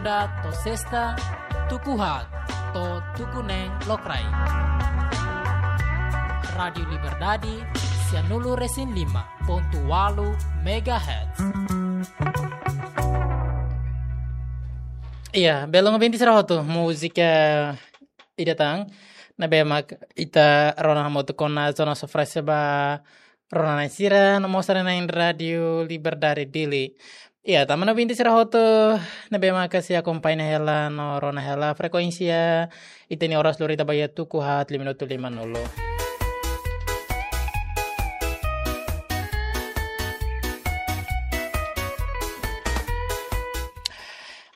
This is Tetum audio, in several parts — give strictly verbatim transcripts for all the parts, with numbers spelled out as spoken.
To'o sesta, tuku haat to'o tuku neen lokraik. Rádiu Liberdade, sia nulu resin lima pontu ualu megahertz. Iya, belun ouvinte sira hotu, múzika ida tan ne'ebé mak ita rona hamutuk ona, zona sofrese ba rona-na'in sira no mós haree-na'in Rádiu Liberdade Dili. Iya, tanba ouvinte sira hotu ne'ebé mak sei akompaña hela no rona hela frekuénsia ita-nia oras lori ita ba iha tuku haat lima minutu lima nulu.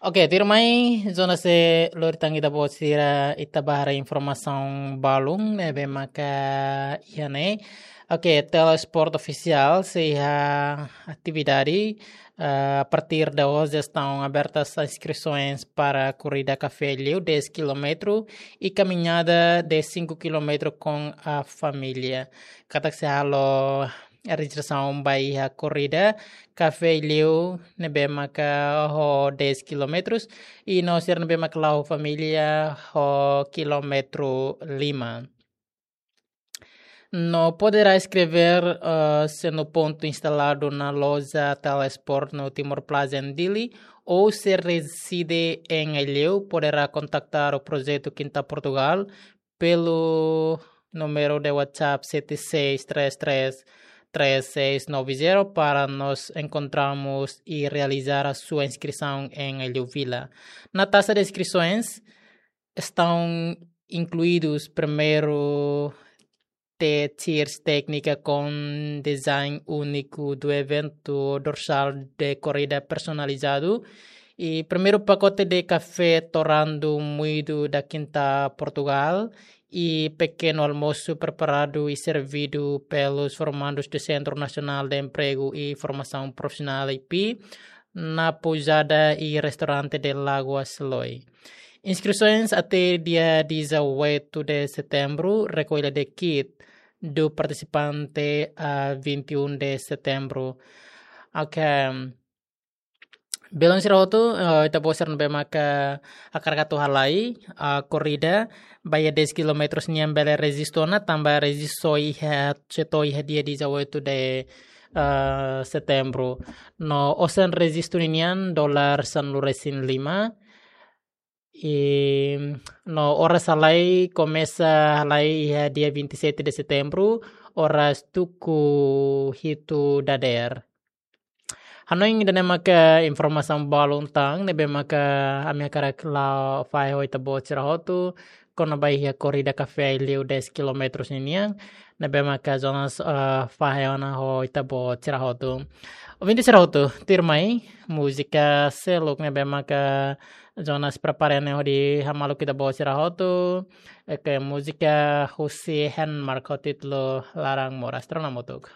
Oke, tuirmai, zona se lori tan ita-boot sira, ita ba haree informasaun balun ne'ebé maka iha ne'e. Oke, Telesport Ofisiál sei iha atividade, ah, a partir de hoje estão abertas as inscrições para a corrida Café Liu, dez quilômetros, e caminhada de cinco quilômetros com a família. Katak sei halo rejistrasaun ba iha korrida Café Liu ne'ebé maka ho dez quilômetros, i no sira ne'ebé maka la'o ho família ho kilómetru lima. No poderá inscrever, ah, se no ponto instalado na loja Telesport no Timor Plaza em Dili, ou se reside em Aileu, poderá contactar o Projeto Quinta Portugal pelo número de WhatsApp sete seis três três três seis nove zero para nos encontrarmos e realizar a sua inscrição em Aileu Vila. Na taxa de inscrições estão incluídos primeiro T-shirts técnica com design único do evento, dorsal de corrida personalizado e primeiro pacote de café torrado moído da Quinta Portugal e pequeno almoço preparado e servido pelos formandos do Centro Nacional de Emprego e Formação Profissional, I P, na pousada e restaurante de Lagoa Seloi. Inscrições até dia dezoito de setembro, recolha de kit do participante a vinte e um de setembro. Ok. Belun sira hotu, eh, ita-boot sira ne'ebé maka hakarak atu halai, ah, korrida ba iha dez quilômetros nian bele rejistu ona, tanba rejistu iha, sei to'o iha dia dezoito de, ah, setembro. No osan rejistu ninian dolar sanulu resin lima. I no oras halai, komesa halai iha dia vinte e sete de setembro, oras tuku hitu dadeer. Hanoin ida-ne'e maka informasaun balun tan ne'ebé maka ami hakarak la'o fahe ho ita-boot sira hotu kona-ba iha korrida Café Liu dez quilômetros ninian, ne'ebé maka Jonas, eh, fahe ona ho ita-boot sira hotu. Ouvinte sira hotu, tuirmai, múzika seluk ne'ebé maka Jonas prepara ne'e hodi hamaluk ita-boot sira hotu, eh, ke múzika husi Henmark ho títulu Laran Moras. Rona hamutuk.